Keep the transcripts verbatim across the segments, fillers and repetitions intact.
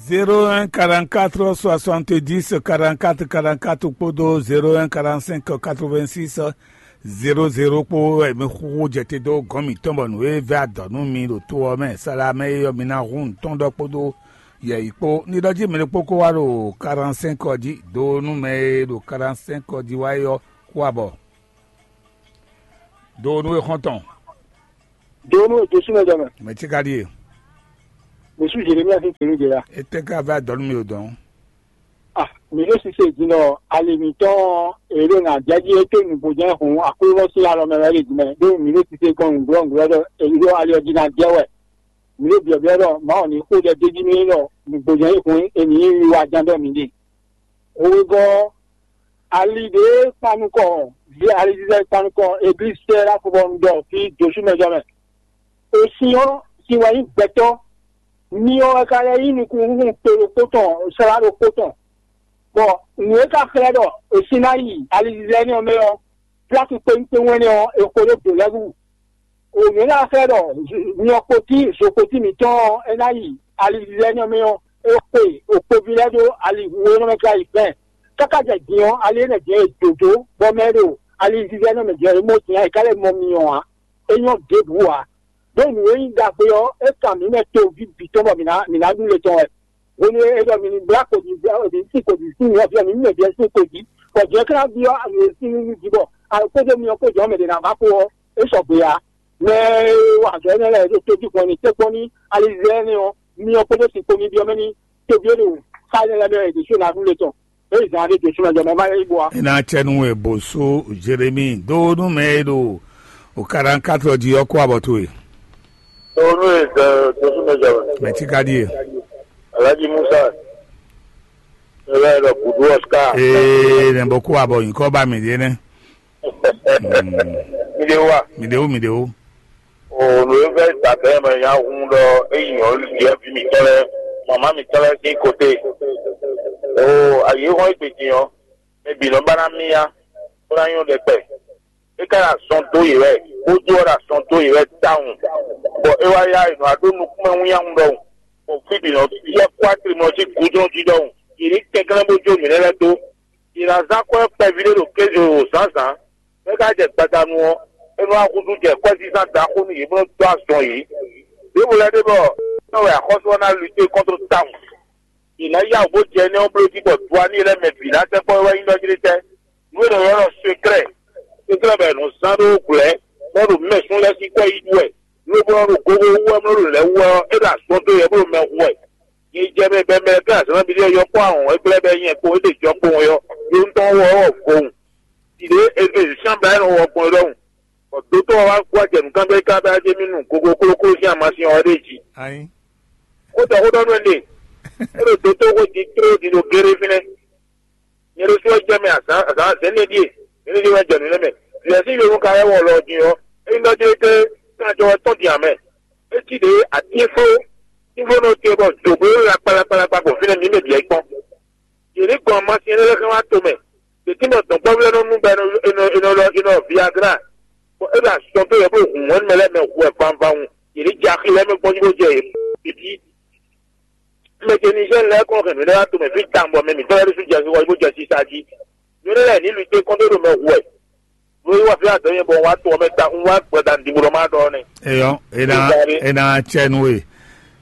Zéro un quarante-quatre soixante-dix quarante-quatre quarante-quatre kpódó zéro un quarante-cinq quatre-vingt-six zéro zéro kpó wɛ mi xúxú jɛ te dó gɔ̌n mǐtɔn bɔ nǔ e vɛ́ adɔ̌ nú mi ɖo to ɔ́ mɛ. Sala mɛ e ɔ́, mi ná hun nǔtɔn ɖɔ kpódó yɛ̌yi kpó. Ní ɖɔ jí mɛ ɖokpó kó wá ɖo quarante-cinq ɔ́ jí, do nú mɛ e ɖo quarante-cinq ɔ́ jí wá é ɔ́, kú abɔ. Do nú e xɔ́ntɔn. Do nú e dó súnmɛ jɔ mɛ. Mɛ tí ka ɖíe. Mɛ sú Jeremia sín tèmi jɛ ya. Etɛ́ ka vɛ́ adɔ̌ nú mi ɖo dɔ̌n? Ah, mǐ ɖo sise din ɖɔ ali mǐtɔn e ɖo ná jɛ jí é tó nǔgbó jɛ́n hǔn Aklúnɔ sín alɔ mɛ wɛ ɖe din mɛ, ɖó mǐ ɖo sise gbɔn nǔglɔ́nǔglɔ́ ɖɔ èyí ɖo ali ɔ́ jí ná jɛ wɛ. Mǐ ɖo byɔ̌byɔ́ ɖɔ Mawu ní xo ɖɛ d'é jí nú é ɖɔ nǔgbó jɛ́n hǔn è nǐ yí wiwa ján ɖɔ mǐ ɖe. Hwegɔ́ ɔ́, ali ɖě kpan nukɔn, vǐ alizizɛ kpan nukɔn eglísɛ ɖo afɔbɔnu ɖɔ fí dǒsúmɛjɔ mɛ. Osin ɔ́, sin wɛ nyí gbɛtɔ́, myɔ wɛ ka lɛ́ nyí nukúnhún to ɖokpó tɔn, slá ɖokpó tɔn, bɔ nǔ e ka xlɛ́ ɖɔ è sin ná yi alizizɛ énɛ́ ɔ́ mɛ ɔ́, pláki kpéwún kpéwún énɛ́ ɔ́, è xo ɖó dǒ lɛ́ɛ wú. Nǔ e ná xlɛ́ ɖɔ myɔkpoti zokpoti mǐtɔn ɔ́, é ná yi alizizɛ énɛ́ ɔ́ mɛ ɔ́, é xwe okpoví lɛ́ɛ ɖó ali hu e nɔ mɛ tlá yi fɛ́n. Káká jɛ din ɔ́, ali énɛ́ din e è dǒ dó, bɔ mɛ e ɖo alizizɛ énɛ́ mɛ din ɔ́, é mɔ din ǎ, è ka lɛ́ mɔ myɔ ǎ. É nyɔ́ ɖěbǔ ǎ. Ɖó nǔ e nyí ɖagbe ɔ́, é kan mǐ mɛ toví bǐ tɔn bɔ mǐ ná mǐ ná ɖu le tɔn wɛ. Hwenu e è ɖɔ mǐ ní blá kodi, mǐ ní sin kodi sín nyɔ̌ ɔ́, mǐ ní mɛ byɔ́ sín kodi, bɔ jɛ̌ ká ná byɔ́ nǔ e sín nú jí bɔ alɔkpéjɔ myɔ kpó jɔ̌ mɛ ɖě ná vá kpo ɔ́, é sɔgbe ǎ. Mɛ e wa azɔ̌ énɛ́ lɛ́ɛ ɖo tójú gbɔn ní tɛ́nkpɔ́n ní alizɛ́ énɛ́ ɔ́, myɔ kpódó sin kpo ní byɔ́ mɛ ní tóbyó ɖo xá énɛ́ lɛ́ɛ mɛ wɛ è ɖǒ só ná ɖu le tɔn. É zǎn ɖé dǒ súnmɛ jɔ mɛ má yɛ yi bo wá. É ná cɛ nú we bó sú Jeremi dó nú mɛ e ɖo o quarante-quatre jí ɔ́ kó abɔ towe. Tó nú e dǒ súnmɛ jɔ mɛ. Mɛ tí ka ɖíe. Alhaji Musa. Ela ela Budu Oscar. Ee, ne bɔ kó abɔ nyikɔ ba mi ɖe nɛ. Mi ɖe wa. Mi ɖe wo, mi ɖe wo. O nǔ e vɛ́ dabɛ mɛ nya hun ɖɔ eyi nyɔ̌nu ɖiɛ vi mǐtɔn lɛ́ɛ, mama mǐtɔn lɛ́ɛ sín kote. O ayi hɔn egbe din ɔ́, mɛ bǐ nɔ ba ná mì ya, bó ná nyɔ́ ɖɛkpɛ. É ka ɖo azɔn dó yě wɛ, bó dó ɔ́ ɖo azɔn dó yě wɛ tawun. Bɔ é wá yá è nɔ wá ɖó nukúnmɛ wínnyáwun ɖɔhun, bɔ fí bǐ nɔ yɛ kpó atrimɔ sín gúdo jí ɖɔhun. Yě ní kɛnklɛ́n bó jó nǔ énɛ́ lɛ́ɛ dó. Yě ná zán akwɛ́ kpɛví ɖé ɖo kéze o zǎnzǎn, bɔ é ka jɛ gbadanu ɔ́, é nɔ wá húzú jɛ kwɛ́zízán ɖaxó nú yě bó nɔ́ dó azɔn yě. Ɖěvo lɛ́ɛ ɖe bɔ é nɔ wɛ axɔ́sú ɔ́ ná lutée kɔ́ntɔ́ tawun. Yě ná yá wǔ bó jɛ énɛ́ ɔ́ bló jí bɔ duaní lɛ́ɛ mɛ bǐ ná sɛkpɔ́ wɛ nyí ɖɔ jí ɖé tɛ́. Nǔ e nɔ ylɔ́ ɖɔ seklɛ́, seklɛ́ bɔ è nɔ zán ɖó glɛ̌, bɔ é ɖo mɛ sún lɛ́ɛ sín kwɛ́ yí ɖu wɛ, lobo nɔ ɖo gogo wú wɛ, bó nɔ ɖo lɛ̌ wú wɛ ɔ́, é ɖo azɔn dó yɛ bó ɖo mɛ hu wɛ. Nyi jɛ mɛ bɛmɛ lɛ́ɛ kplá azɔ̌ nabí ɖé yɔ́ kpó ahɔn wɛ gblɛ́ bɛ nyɛ kpó é ɖe jɔ kpowun yɔ, yó ŋutɔn wɔ ɔ́ vowun. Ɖiɖě e e zǐn sín abla énɛ́ wɔ gbɔn é ɖɔhun, bɔ dótó ɔ́ wá gbɔ jɛ nǔkanbyɔ́ ká bɛ ajé mì nu gogo klókló sín amasin ɔ́ ɖe jí. Xó tɔ xó ɖɔ nú ɛnɛ, é ɖo dótó xó din tló din ɖo géré fínɛ́. Nyɛ ɖésú wɛ jɛ mɛ azǎn azǎn azɛ̌n nɛ́ ɖíe, nɛ́ ɖíe wɛ jɛ nǔ nɛ́ mɛ. Vǐ ɔ́ sín yovónka lɛ́ɛ wɔ lɔ din ɔ́, é nyí ɖɔ jlé té kan jɔ wɛ tɔ́n din ǎ mɛ. É cí ɖě atínfló tínfló nɔ te bɔ dǒgbó lakpalakpalakpa gbɔn fínɛ́ mǐ mɛ bǐ wɛ kpɔ́n. Yě ní gbɔn amasin énɛ́ lɛ́ɛ xá wá tomɛ. Yě tín bɔ dɔ̌nkpɔ́vú lɛ́ɛ nɔ nú bɔ è nɔ è nɔ è nɔ Viagra, bɔ é ɖo azɔn dó yɛ bó hun hwɛ̌nu mɛ lɛ́ɛ mɛ hu wɛ vanvawun. Yě ní jɛ axi lɛ́ɛ mɛ gbɔn jí bó jɛ yě bǐbí. Mɛ ce Nizɛ́ɛ lɛ́ɛ kɔn hɛn nǔ lɛ́ɛ wá tomɛ fí tawun bɔ mɛ mǐtɔn lɛ́ɛ ɖésú jɛ xixɔ jí bó jɛ sisa jí. Nǔ énɛ́ lɛ́ɛ ní lu té kɔn dó ɖo mɛ hu wɛ. Nú é wá fí adɔ̌ nyɛ bɔ un wá to ɔ́ mɛ ta un wá gbɔda nǔɖiɖi bó nɔ má ɖɔ ɔ́ nɛ́. Eyɔ, e ná e ná cɛ nú we.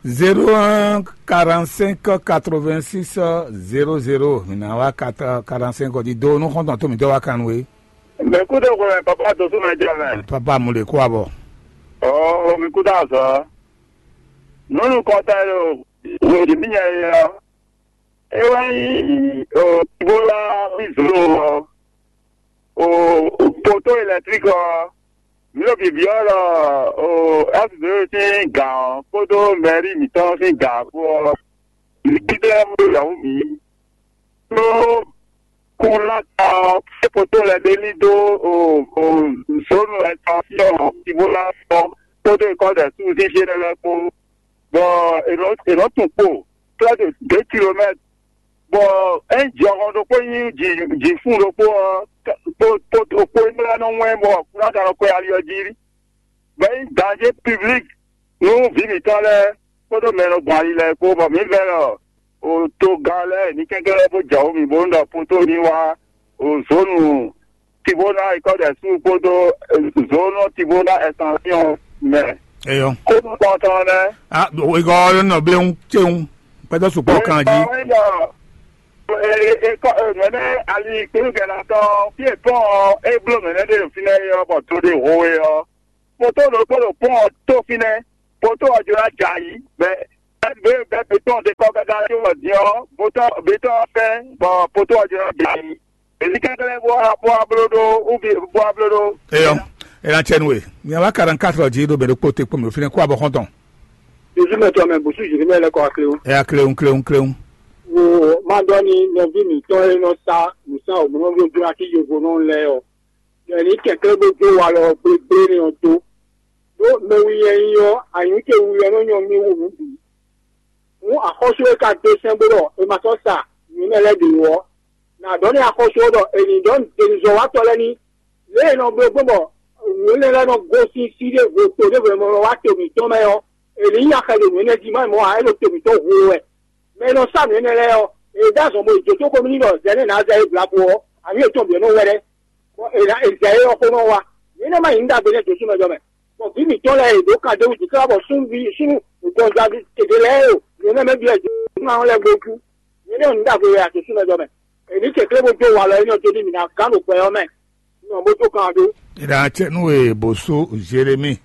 Zéro un quarante cinq quatre vingt six zéro zéro. Mi ná wá quarante cinq ɔ́ jí dó nú xɔ́ntɔn tó mǐtɔn wá kan nú we. Mɛ kú ɖo xwlɛ papa dǒ súnmɛ jɛ mɛ. Papa mu lè kó abɔ. Ɔɔ, mi kú dá azɔ. Nunu kɔta ɖo wěɖi mi nya yɛ ɔ́. É wɛ nyí o Ebola bizlo ɔ́. O poto électrique ɔ́, mǐ ɖo byɔ̌byɔ́ ɖɔ o S D O sín gǎn ɔ́ kpódó mɛ̌ri mǐtɔn sín gǎn kpó ɔ́, mǐ kpéɖé lɛ́ɛ mɔ yǎwǔ mǐ. Ɖó kúnláta ɔ́, é poto lɛ́ɛ ɖé ní dó o o zǒnu ɛtɔn sín ɔ́, Ebola ɔ́ kpódó ikɔ́ ɖɛ̌su sín fí énɛ́ lɛ́ɛ kpó, bɔ è nɔ è nɔ tunwun kpo près de deux kilomètres. Bɔ ényí jɔhɔn ɖokpó nyí jǐ jǐfún ɖokpó ɔ́, kpó kpó ɖokpó énɛ́ lɛ́ɛ nɔ wɛn bɔ kúnná ka nɔ kwɛ ali ɔ́ jí. Bɔ ényí danjé piblik nú vǐ mǐtɔn lɛ́ɛ kpódó mɛ e nɔ gbɔn ali lɛ́ɛ kpó, bɔ mǐ vɛ́ lɔ Togán lɛ́ɛ ní kɛnklɛ́n bó jɛ wǔ mì bónú ɖɔ poto ní wá zónu Tivona Ikɔ́dɛsu kpódó zónu Tivona Ɛsansiɔn mɛ. Eyɔ. Kódó tɔntɔn lɛ́ɛ. Ah, igɔ nɔ bléwu céwu. Pɛtɛ sukpɔ kan jí. Nɛnɛ ali kpéwúkɛlá tɔn fí e pɔn ɔ́, é bló mɛ̌ nɛ́ ɖe ɖo fínɛ́ é ɔ́, bɔ to ɖé ho é ɔ́, poto ɖokpó ɖo pɔn ɔ́ tó fínɛ́. Poto ɔ́ jló ná jɛ ayǐ, bɔ ɛ́ bɛ betɔ́n ɖé kɔ́ káká tó wɔ din ɔ́, betɔ́n ɔ́ fɛ́n, bɔ poto ɔ́ jló ná jɛ ayǐ. Èyí kɛnklɛ́n bó wá bó wá bló ɖó ubi bó wá bló ɖó. Eyɔ, ena tsɛ nu e. Miawa quarante-quatre ɔ́ jí ɖo mɛ ɖokpó te kpɔ́n mɛ fínɛ́ kó abɔ xɔ́ntɔn. Jesu mɛ tɔ mɛ bùsù Jérémie lɛ kɔ akléwú. Ɛ akléwú, kléwú, kléwú. Wo máa ɖɔ ní nɔví mǐtɔn e nɔ sá nǔsá òmùnɔví ojúra kí yovo nɔ lɛ́ɛ ɔ́, ɖɔ ní kɛ̀kẹ́ bó jó walɔ gbégbé ní ɔ́ dó. Ɖó mɛwi nyɛ nyí ɔ́, anyǔ ce wu wɛ nɔ nyɔ mì wú nǔ bǐ. Hǔn axɔ́sú e ka dó sɛ́n bó ɖɔ è ma sɔ́ sa nǔ énɛ́ lɛ́ɛ ɖě ó ɔ́, nǎ ɖɔ nú axɔ́sú ɔ́ ɖɔ è nǐ ɖɔ denuzɔ́watɔ́ lɛ́ɛ ní. Lě e è nɔ bló gbɔn bɔ nǔ énɛ́ lɛ́ɛ nɔ gosín sí ɖěvo to ɖěvo e nɔ wá to mǐtɔn mɛ ɔ́, è nǐ nyi axɛ ɖo nǔ énɛ́ jí má mɔ ǎ, é ɖo to mǐtɔn hu wɛ. Mɛ e nɔ sá nǔ énɛ́ lɛ́ɛ ɔ́, è ɖó azɔn bó yi jǒtó xomɛ n'i ɖɔ zɛ̌ nɛ́ nǎ zɛ é blǎ bo ɔ́, anyǔ yětɔn bǐ ɔ́ nɔ wɛ ɖɛ́. Bɔ è nǎ è zɛ é ɔ́ xó nɔ wá. Mǐ nɔ má nyǐ ɖagbe nɛ́ dǒsú mɛ jɔ mɛ. Bɔ vǐ mǐtɔn lɛ́ɛ è ɖǒ kan dó wú jǐ káká bɔ súnnu súnnu gbɔn Davídi gěgé lɛ́ɛ e nɔ mɛ bǐ wɛ jǐ ɔ́ lɛ́ɛ gbo jú. Mǐ nɔ nyǐ ɖagbe wɛ a dǒsú mɛ jɔ mɛ. È nǐ kɛnklɛ́n bó dó walɔ énɛ́ ɔ́ dó n'i mǐ ná gán ɖo gbɛ ɔ́ mɛ. Nɔ bó dó kan ɔ́ dó. Ina cɛ nu e bó sú Jérémi.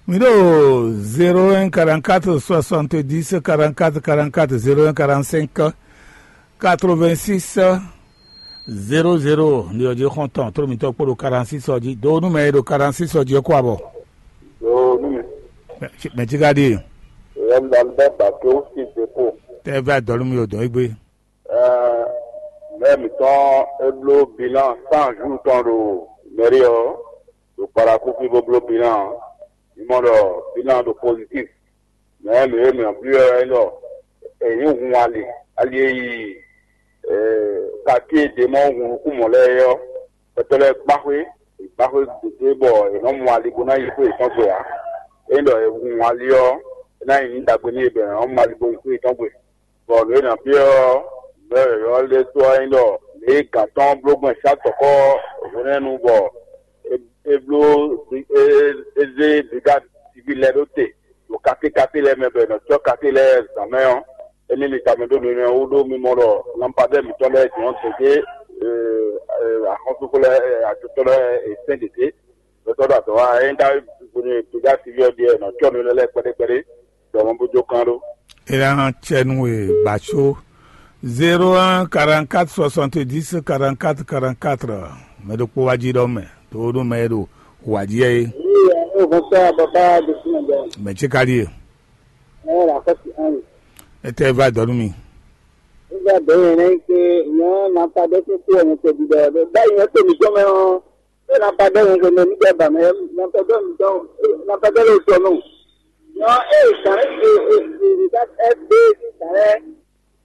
Mi ɖo zéro un quarante-quatre soixante-dix quarante-quatre quarante-quatre, zéro un quarante-cinq quatre-vingt-six zéro zéro, ndi ɔ́ jí xɔ́ntɔn tló mitɔ́ kpó ɖo quarante-six ɔ́ jí. Do nú mɛ e ɖo quarante-six ɔ́ jí ɔ́ kó abɔ. Yoo, nu mi. Mɛ cí ka ɖíe. Yɛ mi ɖɔ bɛ ba tó si de ko. Tɛ vɛ dɔ̌ nú mi o dɔ̌n égbé. Ɛɛ, mɛ mitɔn e bló bilan cent jours tɔn ɖo mɛri ɔ́, ɖo Parakou fí bó bló bilan ɔ́, mi mɔ ɖɔ bilan ɖo positif. Mɛ mǐ e mǐ ɔ́ blí ɔ́ é ɖɔ è nyǐ hun ali, ali e yi kaki e ɖě mɔ hun nukún mɔ̌ lɛ́ɛ é ɔ́, gbɛtɔ́ lɛ́ɛ gbá xwé, è gbá xwé gěgé bɔ è nɔ́ mɔ ali bó ná yi xwé yětɔn gbe ǎ. Ényí ɖɔ è hun ali ɔ́, é ná nyí nǔ ɖagbe nú yě bɔ è nɔ́ mɔ ali bó yi xwé yětɔn gbe. Bɔ nǔ e nǎ byɔ́ ɔ́, nǔ e yɔ̌yɔ́ lɛ́ɛ dó ɔ́ nyí ɖɔ lě e gǎn tɔn bló gbɔn Sátɔkɔ́ hwenɛ́nu bɔ é é bló é é zé brigade civil lɛ́ɛ ɖó te ɖo katékaté lɛ́ɛ mɛ bɔ è nɔ cɔ́ katé lɛ́ɛ zǎn mɛ ɔ́, émí mi tamɛ ɖó mi mɛ wú ɖó mi mɔ ɖɔ lampadɛ́ mǐtɔn lɛ́ɛ jɔ̌n gěgé axɔ́súxú lɛ́ɛ ajotɔ́ lɛ́ɛ è sɛ́n gěgé. Gbɛtɔ́ ɖo azɔ̌ wa é ényí ka gbóni brigade civil ɔ́ ɖíe è nɔ cɔ́ nǔ énɛ́ lɛ́ɛ kpɛɖékpɛɖé, ɖɔ mɔ bó jó kán ɖó. Ela hã cɛ nú e ba có zéro un quarante-quatre soixante-dix quarante-quatre quarante-quatre. Mɛ ɖokpó wá jí ɖɔ mɛ tó nú mɛ e ɖo wǎ jí é. Oui, bonsoir, papa de Sénégal. Mɛ cí ka ɖíe. Ɛ la kɔsi an. Etɛ va dɔ nú mi. Nígbà bẹ́ẹ̀ yẹn náà ń pé èèyàn máa padà sí kú ọ̀run tẹ̀bí dọ̀rọ̀ bẹ́ẹ̀ báyìí wọ́n tèmi jọ́ mẹ́ ọ́n. Bẹ́ẹ̀ náà padà yẹn kò ní nígbà bà mẹ́ náà padà mi dán náà padà lè sọ nù. Yan ẹ̀ ìgbà ẹ̀ ẹ̀ ẹ̀ ẹ̀ ẹ̀ gbé ìgbà ẹ̀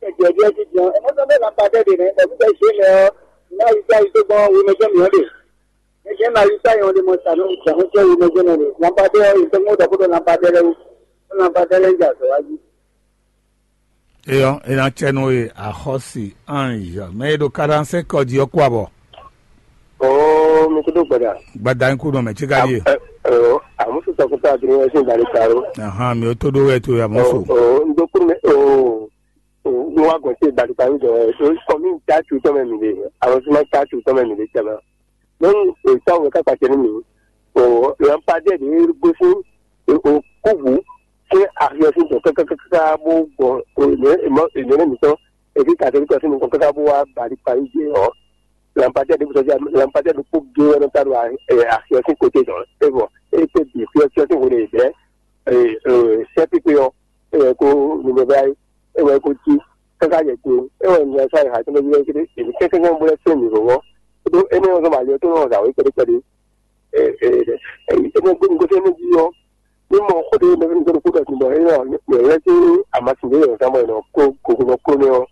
ẹ̀jẹ̀ bí ẹ ti jẹun ẹ̀ mọ́tò bẹ́ẹ̀ náà padà dè náà ẹ̀ bí bẹ́ẹ̀ ṣe é mẹ́ ọ́. Ìnáwó ìgbà ìgbà ìgbà ìgbà ìgbà ìgbà ìgbà Eke na yi ta yɔn ɖe mɔ sa nɔ jɛ xɔ cɛ yi mɛ jɛ nɔ ɖe. Lampadɛ ɔ yi tɔn ŋɔ dɔ ko ɖo lampadɛ lɛ wu. Lampadɛ lɛ ja sɔ wa ji. Eyɔ ena cɛ nɔ ye axɔsi ange mɛ e ɖo kaɖansɛ kɔ ji ɔkú abɔ. Oo, mi kudo gbada. Gbada ŋku nɔ mɛ tsi ka ye. Ɛ ɛ amusu sɔkuta adiri wɛ sin bali karo. Ahan mi o to ɖo wɛ to ya musu. Oo, ndo kuru mɛ oo. Oo, mi wa gbɔn se bali karo jɔ. Kɔmi ta tu tɔmɛ mi de. Arrondissement ta tu tɔmɛ mi de tɛmɛ. Nyɔnu etɔn wɛ ká kpacɛ nú mì. O lampadaire ɖě gosín o kúvǔ sín axi ɔ́ sín tɔn kákákáká bó gbɔn ènɛ́ mǐtɔn ènɛ́ mǐtɔn èbí kàtẹ́líkì ɔ́ sín nukɔn káká bó wá bali parí jɛ ɔ́. Lampadaire ɖě gbèsè lampadaire ɖokpó gé wɛ nɔ ta ɖo axi ɔ́ sín kote tɔn é bɔ é kpé bǐ xyɔ́ xyɔ́ sín hwenu e bɛ̌ sɛ́ pípé ɔ́ é wɛ kó nubɛbɛ́ é wɛ kó cí káká yɛ kpé é wɛ nǔ sa ha tɔn bɛ kɛ́kɛ́ bó lɛ́ sɛ́ mǐ vɔvɔ. Ɖó énɛ́ ɔ́ zɔ́n bɔ ali ɔ́ tó nɔ zǎn wé kpɛɖékpɛɖé. Énɛ́ gbé nugosɛ́nɛ́ jí ɔ́, ní mɔ xó ɖé nɔ nɔ kó ɖɔ bɔ é nɔ lɛ́ sí amasin ɖé yɔ̌ zán bɔ è nɔ kó gogo nɔ kó nɛ́ ɔ́,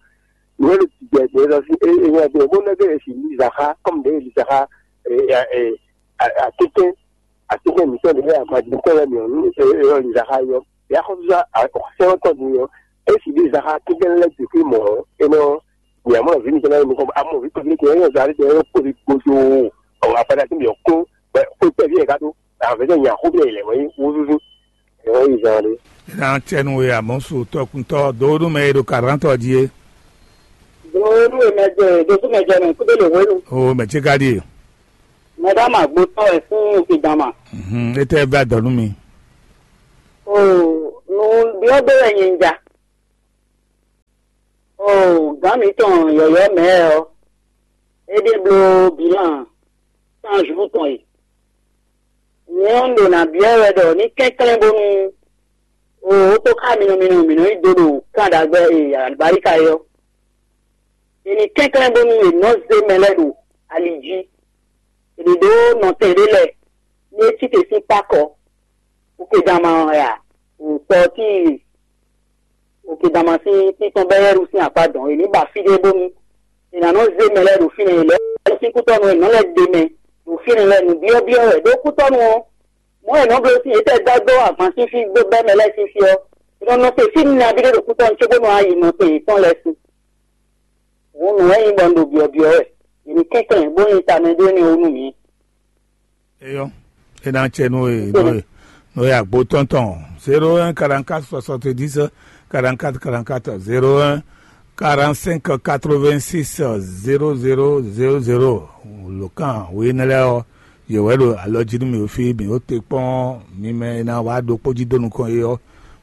nǔ e ɖo jijɛ gbě lɔ sí é é nyɛ gbé bó nɛ́ gbé è sì li zǎxá kɔ́mu ɖě è li zǎxá atínkwɛ́n atínkwɛ́n mǐtɔn ɖě amasin tɔn lɛ́ɛ mǐ ɔ́ nú é é nɔ li zǎxá é ɔ́. Yǎ xɔ́súzá sɛ́n ɔ́ tɔn din ɔ́, É si ɖi zaxa kínkɛn lɛ́ɛ bǐ xwé mɔ̌, é nɔ nyɛ mɔ vǐ mitɔn lɛ́ɛ nukɔn, amɔ vǐ kpɛví tɔn é nɔ zali tɔn é nɔ kpóli gbódó. Ɔ, agbada tí mi ɔ kún, bɛ xwé kpɛví ɛ ka ɖó, avɛ tɛ nya xó bɛ lɛ wɛ wúzúzú. Ɛ wɛ yi zan ɖé. Ná tɛnu we amɔsu tɔkuntɔ dowóɖu mɛ e ɖo karantɔ jí é. Dowóɖu mɛ jɛ dosú mɛ jɛ nɔ kúdé lè wélu. O mɛ tsi ka ɖi e. Mɛ ɖá ma gbótɔ wɛ fún òkè dama. Mhm, e tɛ va dɔ nú mi. O nu biɔ gbé wɛ nyi ja. O gǎn mitɔn yɔyɔ mɛ ɔ, é ɖe bló bilan cent jours tɔn e. Nyɛ ɔ́, un ɖo nǎ byɔ́ wɛ ɖɔ ní kɛnklɛ́n bónú o ó tó xá minɔ minɔ mǐ nɔ yi dó ɖo kan ɖagbɛ e alibarika é ɔ́. È nǐ kɛnklɛ́n bónú è nɔ́ zé mɛ lɛ́ɛ ɖo ali jí. È nǐ ɖó nɔtɛn ɖé lɛ́ɛ ní é cí te sín kpákɔ. Okedama ɔ́ ya, tɔ tíi Okedama sín títɔn bɛ́ yɛ́ɖu sín akpá dɔn. È nǐ ba fí ɖé bónú è nǎ nɔ́ zé mɛ lɛ́ɛ ɖo fínɛ́, è lɛ́ sín kútɔ́nú è nɔ́ lɛ́ ɖe mɛ ɖo fínɛ́ lɛ́ɛ nǔbyɔ́byɔ́ wɛ. Ɖó kútɔ́nú ɔ́, mɔ̌ è nɔ́ bló sín yětɛ́ dá dó agban sín fí dó bɛ́ mɛ lɛ́ɛ sín fí ɔ́, è nɔ nɔ te fí nabí ɖé ɖo kútɔ́nú cóbónú ayi nɔ te yětɔn lɛ́ɛ sín. Hǔn nǔ wɛ nyí bɔ un ɖo byɔ̌byɔ́ wɛ. È nǐ kɛnklɛ́n bó nyi tamɛ ɖó énɛ́ wú nú mǐ. Eyɔ́, é ná cɛ nú e nú e nú e agbo tɔn tɔn zéro un quarante quatre soixante dix quarante quatre quarante quatre zéro un quarante cinq quatre vingt six zéro zéro zéro zéro. Lǒkan wěnɛ́ lɛ́ɛ ɔ́, yě wɛ ɖo alɔ jí nú mǐ ɖo fí, mǐ ɖo te kpɔ́n mi mɛ e ná wá ɖokpó jí dó nukɔn é ɔ́,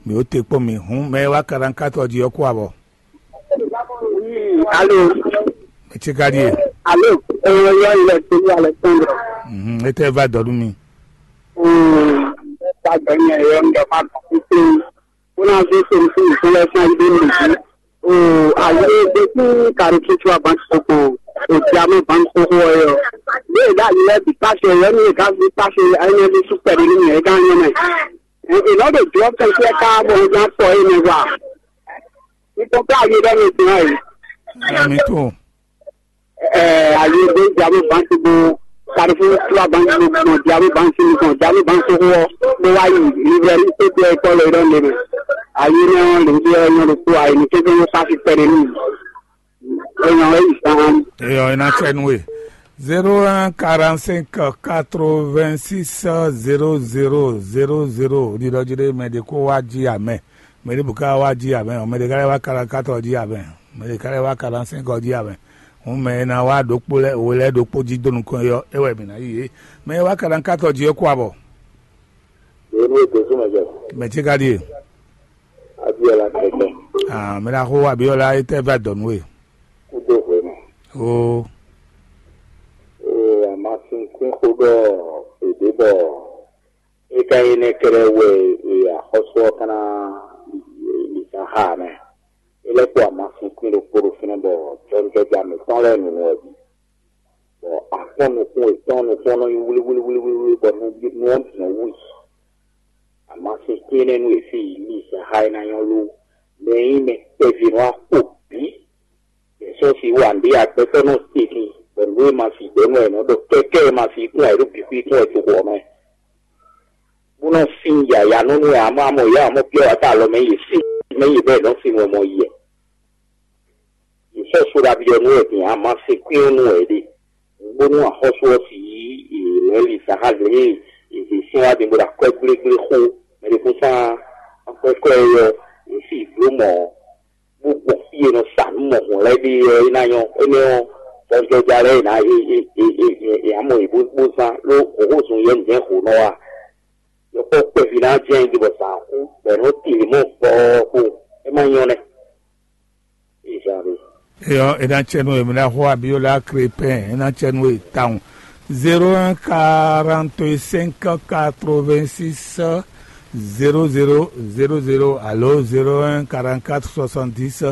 mǐ ɖo te kpɔ́n mi. Hǔn mɛ e wá quarante quatre ɔ́ jí ɔ́ kú abɔ. Alo. Mɛ ce ka ɖíe? Alo. Ɛɛ, yɔ ilẹ̀ tó wà lẹ tán lọ. Mhm, e tɛ va dɔ nú mi. Ɛɛ, ta gbɛ nyɛ yɔ ń dɔ má dɔ kúkú. Kó náà fi sori fún ìfún lẹ fún ayé lè jí. O, ayé gbé fún kàrí tuntun abansoko. O, diamond banko wọ yọ. Bí ìdá yìí lẹ bí pàṣẹ yọ ní ìka fi pàṣẹ ayé ní súpẹ̀lì nínú ẹ̀ ká yọ mẹ́. Ìlọ́dọ̀ jùlọ kẹ́kẹ́ ká bọ̀ ń gbà pọ̀ yìí ní wa. Nítorí ayé lọ́nà ìgbìmọ̀ yìí. Ẹ̀mí tó. Ɛ, ayi ɖe jamu bansi bo karifu tua bansi bo gbɔn jamu bansi mi gbɔn jamu bansi xo ɔ bó wá yi livrɛri tó tɛ kɔ lɛ ɖɔ lɛ mɛ. Ayi nɛ ɔ lɛ bi ɔ nyɔ ɖo kó ayi ni kékeré wó pasi pɛ ɖe nù. Ɛ nyɔ ɛ yi sàn. Eyɔ ina tsɛ nu e zéro un quarante cinq quatre vingt six zéro zéro zéro zéro. Ɖiɖɔ jí ɖe mɛ ɖe kó wá jí amɛ. Mɛ ɖěbǔ ka wá jí abɛ, mɛ ɖě ka lɛ́ wá kaɖankátɔ jí abɛ, mɛ ɖě ka lɛ́ wá kaɖansɛ́nkɔ jí abɛ. Hǔn mɛ e ná wá ɖokpó lɛ́ɛ, we lɛ́ɛ ɖokpó jí dó nukɔn é ɔ́, é wɛ mǐ ná yí yě. Mɛ e wá kaɖankátɔ jí ɔ́ kú abɔ. Yě ní ètò súnmọ́ jẹ. Mɛ ce ka ɖíe? Abíọ́lá kẹ̀kẹ́. Ah, mɛ ɖaxó Abíọ́lá é tɛ́ vɛ adɔ̌ nú we. Kúdó hwenu. Oo. Ee, àmọ́ sínsín xó ɖɔ èdè bɔ é ka nyí nɛ́ kɛ́ɖɛ́ wɛ e axɔ́sú ɔ́ ka ná yi zán xá ǎ mɛ. É lɛ́ kpó amasinkwín ɖokpó ɖo fínɛ́ bɔ jɔwunjɔja mǐtɔn lɛ́ɛ nunu wɛ bǐ. Bɔ akpɔ́n nukún yětɔn nukún ɔ́ nɔ nyí wlíwlíwlíwlí bɔ nú nú ɔ́ bǐ nɔ wú yi. Amasinkwín énɛ́ nú yě sí yi lí zán xá é ná nyɔ́ ló. Mɛ e nyí mɛ kpɛví nú axo bǐ. Yě sɔ́ si wá nǔɖé agbɛtɔ́ nɔ se din, bɔ nǔ e ma fi gbɛ̌ nú ɛ nɔ ɖɔ kɛ́kɛ́ e ma fi kún ɛ ɖo bǐ xwí kún ɛ toxo ɔ́ mɛ. Bó nɔ sin yǎyá nɔ nú ɛ, amɔ̌ amɔ̌ yá amɔ̌ byɔ́ wǎ ta alɔ mɛ yě sin mɛ yě bɛ́ nɔ sin wɛ mɔ yɛ. Yě sɔ́ so ɖabi ɔ́ nú ɛ din, ama se kwín ɔ́ nú ɛ ɖe. Bónú axɔ́sú ɔ́ si yí lɛ̌ li sa xá lě e yě sin wá din bó ɖo akwɛ́ gblégblé xó mɛ ɖé kún sán akwɛ́ kɔ́ ɛ ɔ́, yě si bló mɔ̌. Bó gbɔn fí e nɔ sa nǔ mɔ̌hun lɛ́ɛ ɖe ɔ́, é ná nyɔ́. Énɛ́ ɔ́, jɔjɔja lɛ́ɛ e ná e e e e e e amɔ yě bó bó zán ló hǒhó zun yɛ́ nǔjɛ́n hǒ nɔ wa. Yɔkpɔ́ kpɛví ná jɛ́n yi bɔ zǎn kú, bɔ è nɔ tili mɔ gbɔɔ kpo, é má nyɔ́ nɛ́. Izan ɖe. Eyɔ, é ná tsɛ nú èmi ná xó Abiola Crépin, é ná tsɛ nú e tawun. Zéro un quarante cinq quatre vingt six zéro zéro zéro zéro alo zéro un quarante quatre soixante dix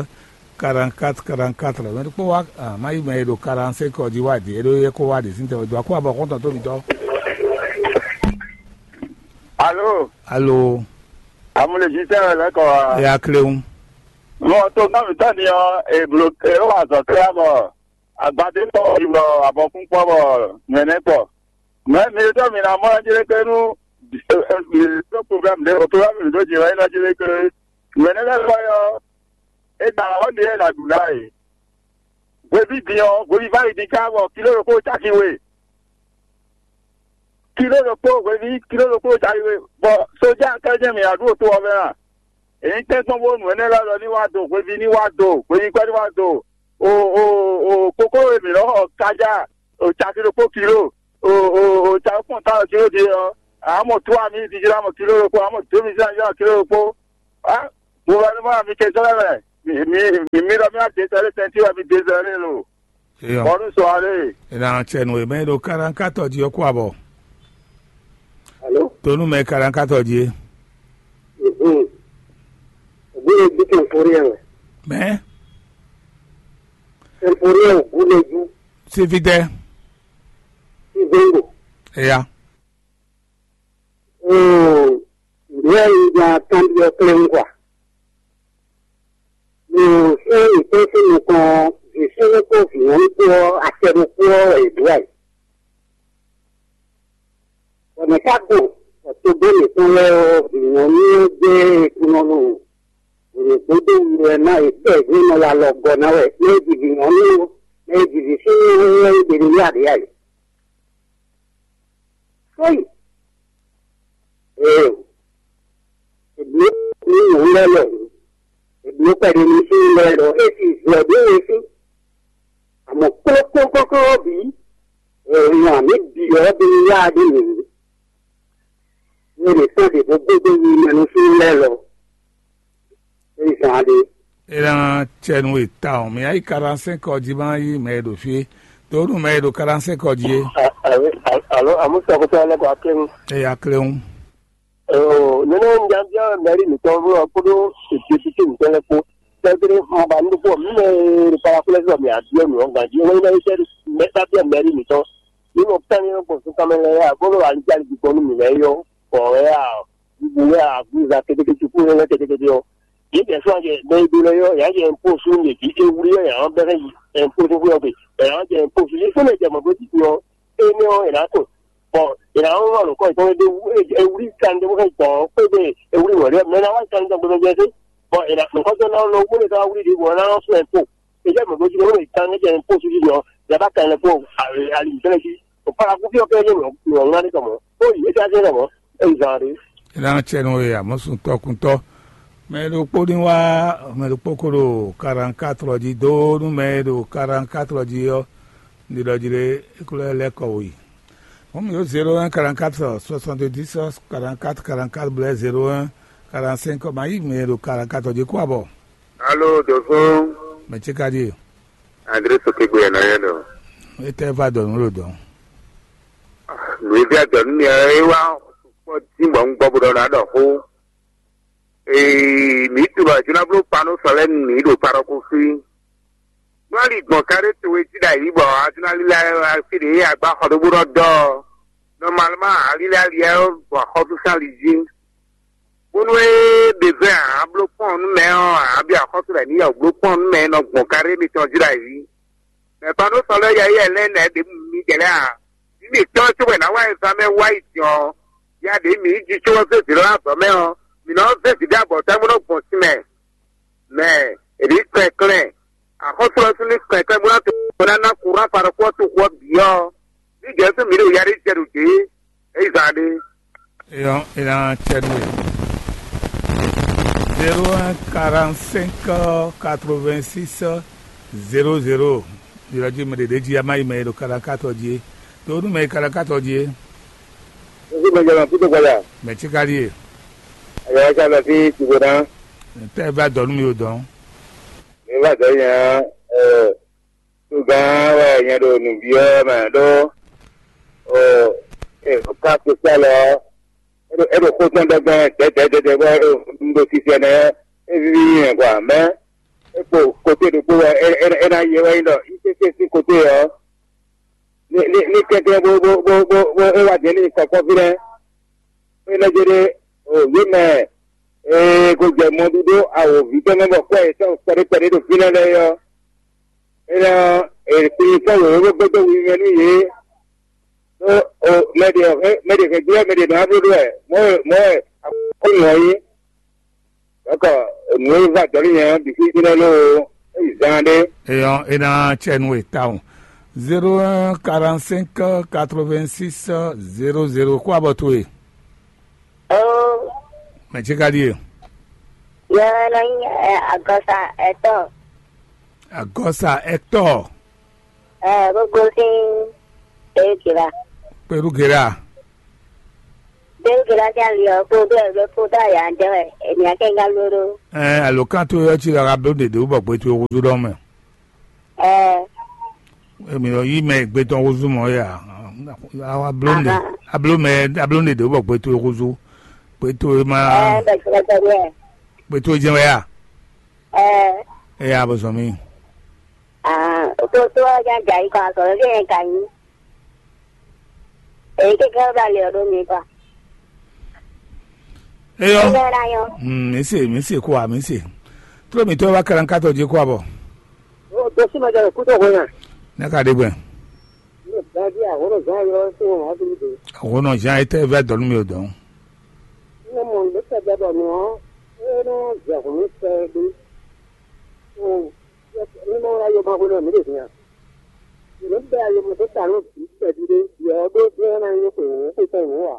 quarante quatre quarante quatre. Mɛ ɖokpó wá, ah, má yi mɛ e ɖo quarante cinq ɔ́ jí wá ɖi, é ɖó é kó wá ɖi sín tɛwɛ dó akó abɔ xɔ́ntɔn tó mitɔ́. Alo. Alo. Amúlejítɛ́ wɛ lɛ́ kɔ wá. Ya kléwu. Mɔ tó nɔ́ mǐtɔn ni ɔ́, è blo è wá azɔ̌ tlá bɔ agbadé tɔn yi bɔ abɔkún kpɔ bɔ nyɛ̌nɛ́ kpɔ. Mɛ mi ɖɔ mi ná mɔ ɛ jlé ké nú mi ɖó problème ɖé o, problème mi ɖó jǐ wɛ é nɔ jlé ké. Nyɛ̌nɛ́ lɛ́ɛ kɔ yɔ E ɖa ɔ́ ɖe wɛ è nǎ ɖu ná e. Hweví din ɔ́, hweví vá yi din ká bɔ kiló ɖokpó caki we. Kiló ɖokpó hweví, kiló ɖokpó caki we. Bɔ sójà kɛ́jɛ mǐ aɖu to ɔ́ mɛ a? È nyí tɛ́nkpɔ́n bónú nǔ énɛ́ lɛ́ɛ ɖɔ ní wá do, hweví ní wá do, hweví kpɛ́ ní wá do. O o o koklo e mǐ nɔ xɔ kájá, o caki ɖokpó kiló, o o o caki kpɔ́n ta kiló din ɔ́, a mɔ tú ami di jlá mɔ kiló ɖokpó, a mɔ dó mi jlá jlá kiló ɖokpó. A gouvernement américain tɔn lɛ́ɛ mɛ, mi mi mi mi ɖɔ mi wá désɛlé tɛntin wɛ mi désɛlé lo. Eyɔ. Bɔnu sɔ ale. Ena cɛ nu eme ɖo karankatɔ jí ɔkú abɔ. Alo. Tonu mɛ karankatɔ jí. Mhm. Ògbóni bí kẹ̀kúrú yẹn wẹ̀. Mɛ. Kẹ̀kúrú yẹn ògbóni jú. Sifidɛ. Ìgbéǹgbò. Eya. Oo, ìwé yìí gba kanbyɔ́ kplé ń kwa. Ɖo sɛ́n mǐtɔn sín nukɔn ɔ́, vǐ súnnu kpó vǐ nyɔ̌nu kpó ɔ́, acɛ ɖokpó ɔ́ wɛ yě ɖó wɛ. Bɔ mɛ̌ ka gbɔn bɔ togbo mǐtɔn lɛ́ɛ ɔ́, vǐ nyɔ̌nu ɔ́ jɛ kunɔ nɔ wěwé gbódó wu wɛ ná yě kpɛ yě nɔ wá lɔ gɔ́ ná wɛ, mɛ e ji vǐ nyɔ̌nu ó, mɛ e ji vǐ súnnu ó, é ɖe nú yá ɖě ǎ é. Sóyì. Ee, è blǒ nú nyɔ̌nu lɛ́ɛ lɔ hǔn, è blǒ kpɛɖé nú súnnu lɛ́ɛ lɔ, é sì zɔ ɖó we sí. Amɔ̌ kplɔ́kplɔ́kplɔ́ bǐ, è nyɔ amǐ bǐ ɔ́ ɖó wá ɖó nǔ. Nú è nǐ kpɔ́n ɖě bó gbéjé yi mɛ nú súnnu lɛ́ɛ lɔ, é zán ɖé. É ná cɛ nú we tawun. Mǐ ná yi quarante-cinq ɔ́ jí má yí mɛ e ɖo fí é. Dǒ nú mɛ e ɖo quarante-cinq ɔ́ jí é. Alo, àmúṣe ɔkutɔ lɛ́ kɔ aklɛ́nú. Eye aklɛ́nú. Nínú nyabiá mɛrí mǐtɔn kpódó député mǐtɔn lɛ́ɛ kpó. Tɛ́gbɛ́ un ba nú kpó mǐ mɛ e ɖo Parakulɛ́sɔ mǐ abyɔ́ nǔ ɔ́ ganjí. Wɛn nyí mɛ e tɛ́ mɛ ká byɔ́ mɛrí mǐtɔn. Mǐ mɔ kánmɛ gbɔn súnkanmɛ lɛ́ɛ ǎ, bó ɖo anijali gbígbɔn nú mǐ lɛ́ɛ é ɔ́, bɔ wɛ a, bǔ wɛ a, agbúza kétékété kúnlélɛ́ kétékété ɔ́. Yě jɛ fún ajɛ mɛ e ɖó lɛ́ɛ ɔ́, yě á jɛ impó sú yě jí é wlí ɔ́, yě á bɛ́ hɛn yi impó sú xwé ɔ́ gbe, yě á jɛ impó sú yě fún mɛ jɛ mɔ̌ dó títí ɔ́, énɛ́ ɔ́, è nǎ tunwun. Bɔ è nǎ nɔ nǔkɔ yětɔn ɖé wú, è wlí kan ɖé bó hɛn gbɔn ɔ́, xwé gbe è wlí wɛ̌ ɖé ɔ́, mɛ ná wá kan ɖé gbɛmɛ jɛ dé. Bɔ è nǎ nǔkɔ tɔn ná nɔ wú lě ká wá wlí ɖě bɔ é ná nɔ sú impó. È jɛ mɔ̌ dó jí ɖé wú è kan ɖé jɛ impó sú jí ɔ́, yě bá kan lɛ kpó ali mǐtɔn lɛ́ɛ jí. Bɔ Paraku fí ɔ́ kɛ é nyí nǔ ŋlá ɖé tɔn mɔ̌. Ó yi é ká jɛ mɔ̌, é yi zan ɖé. Ena cɛ nú we amɔ̌ sun tɔkuntɔ. Mɛ ɖokpó ní wá, mɛ ɖokpó ko ɖo quarante-quatre jí dó nú mɛ e ɖo quarante-quatre jí ɔ́, ní ɖɔ jí ɖé é kó lɛ́ lɛ́ kɔ wǔ yi. Hɔn mǐ ɖo zéro un quarante-quatre soixante-dix quarante-quatre quarante-quatre blɛ́ zéro un quarante-cinq ma yí mɛ e ɖo quarante-quatre jí kú abɔ. Alo, dǒsó. Mɛ ce ka ɖíe? André Sokegbe ɛ nɔ yɛ ɖɔ. Étɛ́ va dɔ nǔ ɖo dɔn. Nǔ e vɛ dɔ nú mi ɔ́, é wá kpɔ́ dín bɔ un gbɔ bó ɖɔ ná ɖɔ xó. Ee, mǐ tunɔ jí ná bló kpa nú sɔ lɛ́ɛ nú mǐ ɖo kpa ɖɔ ko fí. Nú ali gbɔn kaɖé towe jí ɖo ayǐ bɔ a jí ná lílá fí ɖě a gbá xɔ ɖó bó nɔ dɔ ɔ́, nɔmalmá a lílá ali ɔ́ gbɔn axɔ́súsán ali jí. Bónú é ɖe vɛ́ ǎ, bló kpɔ́n nú mɛ ɔ́ ǎ, byɔ́ axɔ́sú lɛ̌ ní yɛ bló kpɔ́n nú mɛ e nɔ gbɔn kaɖé mitɔn jí ɖo ayǐ. Mɛ kpan nú sɔ lɛ́ yɛ yɛ lɛ́ɛ nɛ̌ ɖě mi jɛ lɛ́ɛ ǎ. Mǐ mǐtɔn cóbɔ è nǎ wá examɛ́ wá yi din ɔ́, ya ɖě mǐ yi ji có ɔ́ zé zǐn lɔ azɔ̌ mɛ ɔ́, mǐ nɔ zé zǐn ɖé abɔ̌ta bó nɔ́ gbɔn sin mɛ. Mɛ è nǐ kɛnklɛ́n, axɔ́sú ɔ́ sín ní kɛnklɛ́n bó ná to bó ná ná kúrú afa ɖokpó ɔ́ toxo ɔ́ bǐ ɔ́, ní Jɛ̌sú mǐ ɖo ya ɖé jɛ ɖo dě, é yi zan ɖé. Eyɔn, ena cɛ nú we. Zéro un quarante-cinq quatre-vingt-six zéro zéro. Ylɔ́ jí mɛ ɖě ɖě jí a má yi mɛ e ɖo kaɖakátɔ jí é. Tó nú mɛ e kaɖakátɔ jí é. Ojú mɛ jɛ mɛ kútu gbɔdɔ. Mɛ tí ka ɖíe. Ayɔ wa ca lɔ sí tìgbò ná. Tɛ va dɔ nú mi o dɔn. Mi va dɔ nya ɛ tugán wɛ nyɛ ɖo nǔbyɔ́ mɛ ɖó o e ká kpekpé alɔ é ɖo xó tɔn ɖɛgbɛn dɛdɛdɛdɛ bɔ un ɖo sisɛ nɛ é víví nyi mɛ gɔ́ amɛ é kpo kote ɖokpó wɛ é ná yɛ wɛ nyí ɖɔ yísésé sín kote ɔ́ ní ní kɛnklɛ́n bó bó bó bó bó é wá jɛ ní kɔkɔ́ fínɛ́. É nɛ́ jɛ ɖe o yě mɛ ee ko jɛ mɔɖíɖó awǒvi tɔn mɛ bɔ kwɛ́ yětɔn kpɛɖé kpɛɖé ɖo fínɛ́ lɛ́ɛ é ɔ́, é nɔ è kplin sɔ́ wěwé bó gbéjé wiwi nú yě. Ɖó o mɛ ɖě mɛ ɖě hɛn jlɛ́ mɛ ɖě nɔ wá bló ɖó wɛ mɔ̌ e mɔ̌ e akɔ́ nɔ ɔ́ nyí. D'accord, nǔ e va dɔ̌ n'i nyɛ ɔ́ bǐ fí jɛ́n lóo, é yi zán ɖé. Eyɔn, é ná cɛ nú we tawun. Zéro un quarante cinq quatre vingt six zéro zéro kó abɔ towe. Ó, Mɛ ce ka ɖíe? Yɛ lɔ nyí ɛ, agɔsa ɛtɔn. Agɔsa Hector. Ɛ, bó gosín Perugera. Perugera. Perugera sín ali ɔ́ kpódó ɛ ló kpódó aya jɛ wɛ ènìyàn akɛnga lóɖó. Ɛ, alǒkan towe ɔ́ cí ɖɔ a ka bló ɖěɖé wú bɔ gbe towe húzú ɖɔ mɛ. Ɛ, Emi ɔ́ yí mɛ gbe tɔn húzú mɔ ya. Awa bló ɖe. Ahan. Abló mɛ, abló ɖěɖé wú bɔ gbe towe húzú. Gbe towe ma. Ɛ, bɛ jɛ wɛ jɛ wɛ. Gbe towe jɛ wɛ ya. Ɛ, Eya bɔ zɔn mi. Ah, o ko to ɔ́ ja jɛ ayǐ kɔ azɔ̌ lé ɛ ka nyí. Èyí kékeré bla lě ɔ́ ɖó mi kɔ. Eyɔ. Eyɔ la yɔ. Hmm, mi se, mi se kó a, mi se. Tró mi tɔ́ wá kalankatɔ jí kó abɔ. Ó tó sí ma jẹ kú tó hó yẹn. Ne ka ɖe gbɛ. Ní ìdájí àwòrán zan yọ sí wọn wá sí mi dé. Àwòrán zan yìí tẹ́ fẹ́ dɔ̀nú mi ò dɔ̀n. Ní mo lè tẹ̀ gbẹ bọ̀ nù ọ́, é ní jẹ̀kùn mi sẹ́ bí. Ó ní mo ra yọ máa gbóná mi lè dín a. Ìlú bẹ́ẹ̀ ayé mo tó ta ní òbí tẹ̀dí dé, yọ̀ ọ́ dó dín ẹ́ náà yín kò wò ó kó tẹ̀ wò ó à.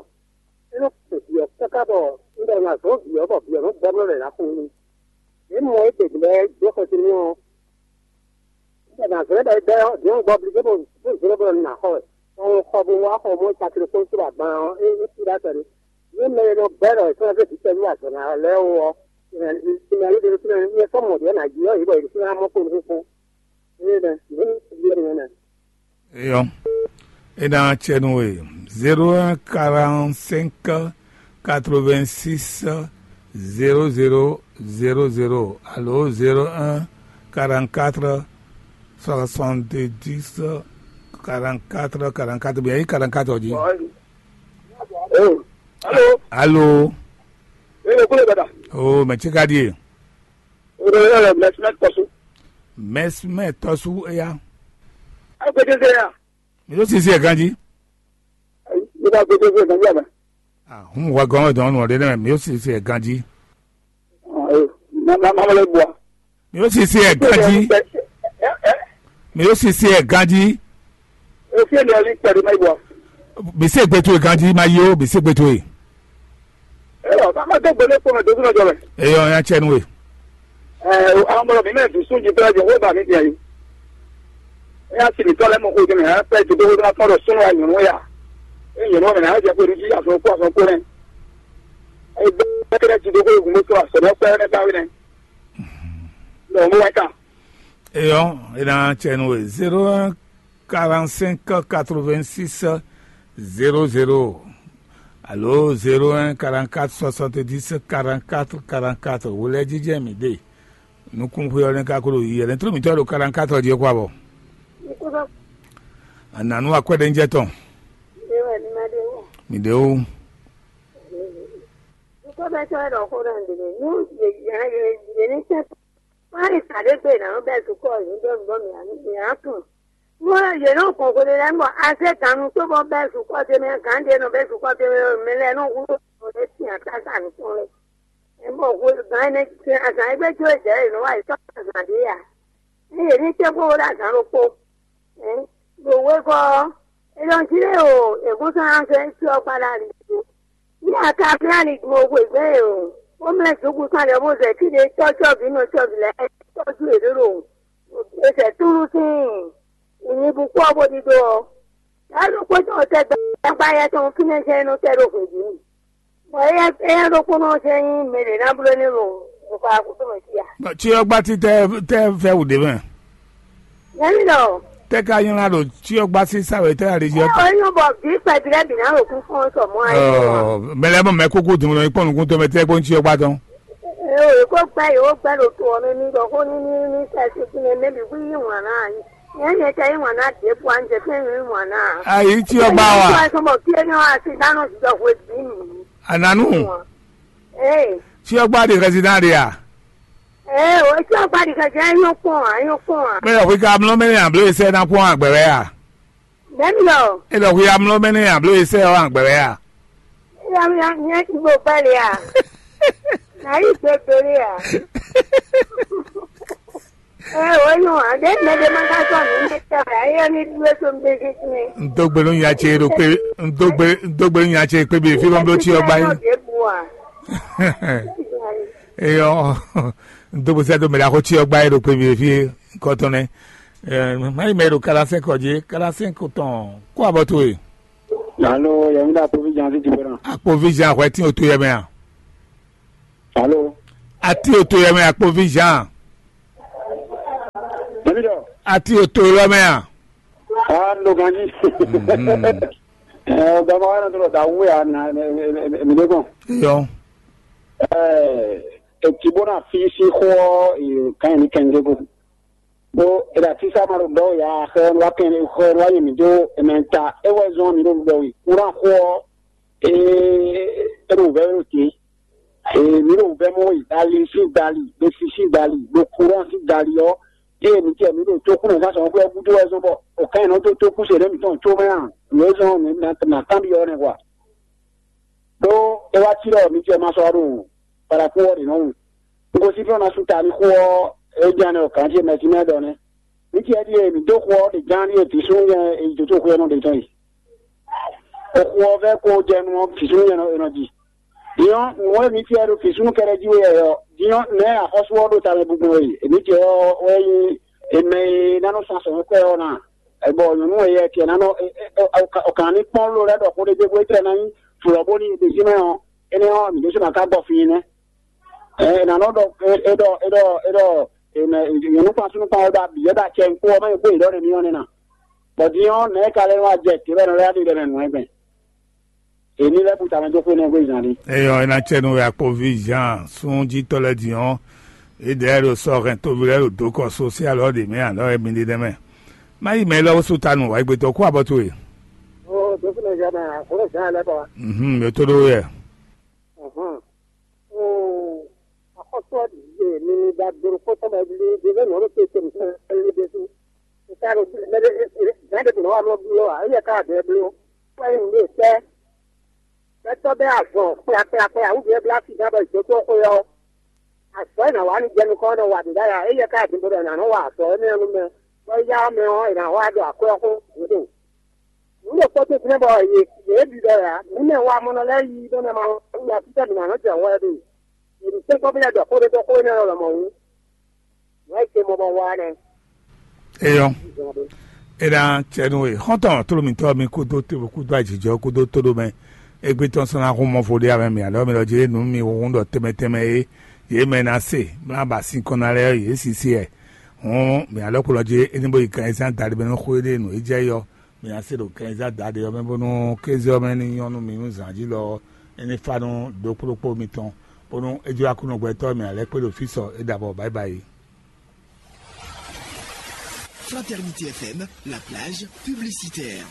Inú kò bì ɔ́ káká bɔ un ɖɔ nǎ zɔ́n vǐ ɔ́ bɔ vǐ ɔ́ nɔ́ gbɔ blɔ́ lɛ̌ ná xo nú. Mǐ mɔ égběgbé lɛ́ɛ dó xɛsi n'i ɔ́, un ɖɔ nǎ zɔ́n bɔ é bɛ́ ɔ́, vǐ ɔ́ gbɔ blí bó bó zlɔ́n bɔ nǎ xɔ wɛ. Bɔ un xɔ bo wá xɔ mɔ cakle kpó sú agban ɔ́, é é cí ɖó akpɛɖé. Nú mɛ e nɔ gbɛ́ ɖɔ è sɔ́ ná zé vǐ tɛ́ nú azɔ̌ ná lɛ́ɛ ó ɔ́, è nǎ ɖi sinmɛ yí ɖé ɖó fínɛ́, nyɛ sɔ́ mɔ ɖě ná jí ɔ́, yě bɔ yě ɖo fínɛ́ ná mɔ kpó nukúnkún. Eyɔ, é ná cɛ nú we. Zéro un quarante cinq quatre vingt six zéro zéro zéro zéro alo zéro un quarante quatre soixante dix quarante quatre quarante quatre bien, yi quarante quatre jí. Oh, allô. Allô. Oh, mɛ ce ka ɖi ye? Mɛsimɛ tɔsu. Mɛsimɛ tɔsu eya. Agbede se ya. Mi ɖo sisi ɛ ganji. Mi ɖo agbede se ganji ame. Ah, hun wa gɔn dɔn nɔ ɖe nɛ mi ɖo sisi ɛ ganji. Na na ma le bua. Mi ɖo sisi ɛ ganji. Mi ɖo sisi ɛ ganji. Efi ni ali kpɛɖe ma yi bua. Mi se gbe towe ganji ma yi o, mi se gbe towe. Eyɔ, ká má dó gbe lé kpɔ́n mɛ dó súnmọ́ jɔ mɛ. Eyɔ, ya cɛ nú we. Ɛ, àwọn ọmọ mi mɛ dùn sún jí pẹ́lá jẹ wọ́n bá mi bìí ayé. Ẹ yà sì ní tọ́lẹ̀ mọ̀ kó jẹ mẹ́ ẹ pẹ́ ti dókòwò náà tọ́lọ̀ súnmọ́ ya nyɔ̀nú ya. Ẹ nyɔ̀nú mẹ́ náà jẹ pé ní jíjà fún kó àfọ̀n kó rẹ̀. Ẹ gbẹ́ kẹ́kẹ́ ti dókòwò gùn mọ́tò àsọ̀rọ̀ pẹ́ ẹ káwé nẹ. Lọ́wọ́ mú wáyé ká. Eyɔ, ena cɛ nú we zéro un quarante cinq quatre vingt six zéro zéro alo zéro un quarante quatre soixante dix quarante quatre quarante quatre wulɛ jijɛ mi de. Nukun xwe ɔlɛ ka kolo yi ɛlɛ ntro mi tɔ do quarante quatre di ko abɔ. Ananu akwɛde njɛ tɔn. Mi de o. Nukun bɛ tɔ ɛdɔ ko dɔ ndele nu ye ye ye ni tɛ. Wọ́n á lè sàdégbé ìnáwó bẹ́ẹ̀ sùkọ́ yìí ń bẹ̀rù bọ́ mi àní ìyá kùn. Wọ́n yè náà kàn kó lè lẹ́nu bọ̀, a ṣe kànú tó bọ́ bẹ́ẹ̀ sùkọ́ ṣe mẹ́ kàn dé nù bẹ́ẹ̀ sùkọ́ ṣe mẹ́ mẹ́ lẹ́nu wúlò tó lè tì àtà sànù tó lè. Ẹ mọ̀ kó gan ẹni ṣe àṣà ẹgbẹ́ tí ó jẹ́ ìnáwó àìsàn àṣà dé yà. Ní èmi tẹ́ kó wọlé àṣà ló kó. Ẹ lò wé kọ́, ẹ lọ sí lé o, èkó sọ ránṣẹ́ sí ọ̀pá láàrin ìlú. Ní àká Fúlàní gbọ́n owó ìgbẹ́ yìí o, ó mẹ́rin tó kú sálẹ̀ ọmọ zẹ̀ kí lè tọ́jú ọ̀bí náà tọ́jú lẹ̀ ẹ́ tọ́jú èlé lòun. Ẹsẹ̀ túrú sí ìyìnbùkún ọ̀bọ dídó ọ. Lálùkò tó tẹ gbàgbá yẹn tó ń fínlẹ̀ ṣe inú tẹ́ ló fèjì nì. Bọ̀ ẹyẹ ẹyẹ ló kún náà ṣe yín mèrè náà búrò nínú nǹkan àkókò mọ̀ sí à. Tí ọgbà tí tẹ́ tẹ́ fẹ́ wù dé mẹ́. Yẹn lọ. Tẹ́ ká yín ládò tí ọgbà sí sàwé tẹ́ àlejò. Ẹ ò yín bọ̀ bí pẹ̀bí rẹ̀ bì náà ló kún fún ọ̀sọ̀ mọ́ ayé wa. Mẹlẹ mọ mẹ kókó dùn lọ ikpọ nukun tó mẹ tẹ kó ń tí ọgbà tán. Ẹ ò kó gbẹ yìí ó gbẹ ló tó ọ ní ní lọ kó ní ní ní sẹ́sì kí ni mẹ́bí wí yín wọ̀n náà yín. Yẹn yẹn tẹ yín wọ̀n náà dé bu à ń jẹ fún yín wọ̀n náà. Ayi tí ọgbà wa. Ẹ ò sọ mọ̀ kí ẹ ní wọ́n á sí dáná sí dọ̀ fún ẹbí mi. Ananu. Ee. Tí ọgbà di kẹsì náà di à. Ee, o tí ọgbà di kẹsì ẹ yóò pọ̀ à yóò pọ̀ à. Bẹ́ẹ̀ lọ fi ka mlọ mẹ́rin àbúrò iṣẹ́ náà pọ́n àgbẹ̀rẹ́ à. Bẹ́ẹ̀ni lọ. Ẹ lọ fi ka mlọ mẹ́rin àbúrò iṣẹ́ ọ̀ àgbẹ̀rẹ́ à. Ìyá mi yẹn ti gbó pẹ́ẹ́lí à. Ayi gbegbe ɖé a? Ɛ wǒ nyɔ ǎ ɖé mɛ ɖé ma ka sɔ́ nǔ mɛ tɔn ǎ, éyɛ́ ní ɖú é tó ń gbé sísí mɛ. N dó gbe nú nya ce ɖo kpé, n dó gbe, n dó gbe nú nya ce kpé bǐ fí bɔ n bló cyɔ gbá yín. Ɖěbǔ a? Eyɔ, n dó gbe sɛ́ dó mɛ ɖaxó cyɔ gbá yín ɖo kpé bǐ fí kɔtɔn nɛ́. Má yi mɛ ɖo kalasɛ́nkɔ jí, kalasɛ́nkɔ tɔn kó abɔ towe. Alo, yɛmi ɖo akpovi jan fi jibɔna. Akpovi jan hwɛ tín oto yɛ mɛ a? Alo. Ati oto yɛ mɛ akpovi jan. Yɛmi ɖɔ. Ati oto lɔ mɛ a? Ah, no ganji. Mhm. Eh, baba wa na tɔlɔ da wu ya na mi de kɔn. Yɔ. Eh, e ti bo na fi si xɔ e kan ni kɛnde ko. Bó e ɖo atisa ma ɖo ɖɔ ya xɛ wa kɛn xɛ wa yi mi dó ɛmɛ ta e wɛ zɔn mi ɖo ɖɔ yi kura xɔ e e ɖo vɛ ɖo te e mi ɖo vɛ mɔ yi dali si dali ɖo sisi dali ɖo kura si dali ɔ ye mi tɛ mi ɖo tó kun na sa sɔn xɔ gúdo wɛ zɔn bɔ o kan yi nɔ tó tó kun se ɖe mi tɔn tó mɛ a nǔ e zɔn mi na na kan bi ɔ nɛ wa ɖó e wa ti ɖɔ mi tɛ ma sɔ ɖo paraku ɔ ɖe nɔ wu. N ko sí fɛ́n ɔ́ ná sú ta ní xó ɔ́, é ján nɛ́ ɔ́, gǎn ce mɛ jí mɛ ɖɔ nɛ́. Ní ce ɖíe mǐ dó xó ɔ́ ɖě ján ɖíe vǐ súnnu nyɛ è yi dǒtó xwé ɔ́ nɔ ɖe tɔn yi. Xó ɔ́ vɛ́ kó jɛ nu ɔ́, vǐ súnnu nyɛ è nɔ ji. Din ɔ́, nǔ e mǐ fiɛ ɖo vǐ súnnu kɛ́ɖɛ́ jí wɛ ɔ́, din ɔ́, nɛ̌ axɔ́sú ɔ́ ɖo tamɛ gbigbɔn e? Èmí ce ɔ́ wɛ nyí è mɛ e ná nɔ san sɔ̌ kwɛ ɔ́ ná. Bɔ nyɔ̌nu e yɛ ce ná nɔ ɔkàn ní kpɔ́n ló lɛ́ ɖɔ xó ɖé gbégbé é tlɛ ná nyí flɔ̌ bónú è ɖe sí mɛ ɔ́, énɛ́ ɔ́, mǐ ɖésú ná ka gbɔ fí nɛ́. Ɛ, è nǎ nɔ ɖɔ é ɖɔ é ɖɔ é ɖɔ è nɔ nyɔ̌nu kpán súnnu kpán wɛ ɖo abǐ wɛ ɖo acɛ kpó ɔ́ mɛ kpó yě ɖɔ ɖe mì ɔ́ nɛ́ ná. Bɔ din ɔ́, nɛ̌ ka lɛ́ wá jɛ tě wɛ nɔ lɛ́ ɖi ɖɛ mɛ nǔ wɛ gbɛn? È ní lɛ́ bu tamɛ dó xwé nɛ́ gbé zǎn ɖi. Eyɔ é ná cɛ nú wɛ akpoví Jean súnjítɔ́ lɛ́ɛ din ɔ́, é ɖɛ̌ ɖo sɔ́ hɛn tóví lɛ́ɛ ɖo dǒ kɔ sósíal ɔ́ ɖě mɛ alɔ wɛ mi ɖe nɛ́ mɛ. Má yi mɛ élɔ́ sú ta nú wǎ gbé tɔn kú abɔ towe. Ó dókúnɔ Jean náà, àkóró Jean lɛ́ kɔ wá. Mhm, mɛ tó ɖó yɛ. Axɔ́sú ɔ́ ɖi mi ɖo agbeɖokpó tɔn mɛ ɖi ɖi ɖe nɔ ɖo te tɛm tɛn ɖe ɖésú. Ka ɖo mɛ ɖe gǎn ɖe nɔ wa nɔ bló ǎ, éyɛ́ ka ɖe bló. Kpɛ́ nyi nǔ ɖe tɛ́. Gbɛtɔ́ bɛ́ azɔn kplakplakpla wútu e blá fífá bɔ ìdótó xwe ɔ́. Azɔ̌ e nǎ wa nú jɛ nukɔn ɔ́ nɔ wa ɖě ɖ'ayǐ ǎ, éyɛ́ ka ɖe bo ɖɔ è nǎ nɔ wa azɔ̌ énɛ́ ɔ́ nú mɛ, bɔ éyá ɔ́ mɛ ɔ́, è nǎ xo wá ɖo akwɛ́ ɔ́ xó gǔdo. Nǔ ɖokpó tɛ́ntin bɔ yě yě ɖi ɖɔ ǎ, nǔ mɛ wa mɔnɔ lɛ́ɛ yí ɖó nɛ ma wú ya títɛ mǐ ná nɔ jɛ hwɛ ɖe. Yě ní sɛ́nkpɔ́ bí lɛ́ ɖɔ xó ɖé dó xó énɛ́ lɔ lɔmɔ̌ wú. Nǔ e ce mɔ bɔ wa nɛ́. Eyɔ. É ná cɛ nú we xɔ́ntɔn tló mǐtɔn mi kúdó tevo kúdó ajijɔ kúdó tóɖomɛ. Égbé tɔn sɔ́ ná hun mɔ vo ɖé amɛ mì alɔ mi ɖɔ jí nǔ mi hun ɖɔ tɛmɛ tɛmɛ é yě mɛ ná se mlá ba sin kɔn ná lɛ́ɛ yě sisi ɛ. Hɔn mǐ alɔ kplɔ jí é ní bó yi kan ɛ zán daɖi mɛ nú xó é ɖe nǔ é jɛ yɔ. Mǐ ná se ɖo kɛnzá daɖe ɔ́ mɛ bónú kéze ɔ́ mɛ ní nyɔ́ nú mì nú zǎn jí lɔ ɔ́, é ní fá nú ɖokpóɖokpó mitɔn, bónú é jló Aklúnɔ gbɛtɔ́ mǐ ná lɛ́ kpé ɖo fí sɔ é ɖo avɔ báyibáyi. Fraternité F M, la plage publicitaire.